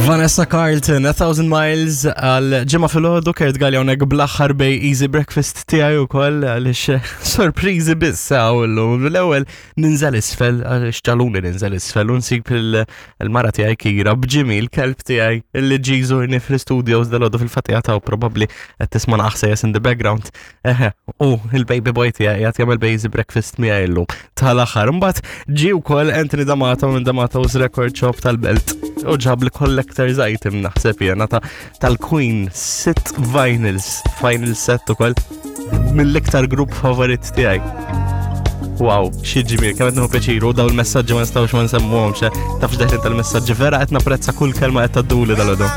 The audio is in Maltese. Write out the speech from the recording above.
Vanessa Carlton, A Thousand Miles għal ġimgħa filgħodu Kurt Galli hawnhekk bl-aħħar bej Easy Breakfast tiegħi wkoll għaliex sorpriżi biss hawn illum. L-ewwel ninżel isfel għaliex ġaluni ninżel isfel u nsib il-mara tiegħi Kira b'Jimmy l-kelb tiegħi li ġie jżurni fl-studios dal-għodu fil-fatija ta' probabbli qed tisma' naħsejjes in the background. Eħe, u il-baby boy tiegħi qed jagħmel basic breakfast miegħi llum tal-aħħar. Imbagħad ġie wkoll Anthony D'Amato minn D'Amato's Record Shop tal-Belt u ġab li collector's item naħseb jiena ta' tal-Queen sitt vinyls, vinyl set ukoll mill-iktar grupp favorit tiegħi. Wow, xi ġmiel, kemm qed nieħu pjaċir u dawn il-messaġġi ma nistgħux ma nsemmuhomx, eh. tafx deħlin tal-messaġġi vera qed napprezza kull kelma qed tgħadduli dal-għodu.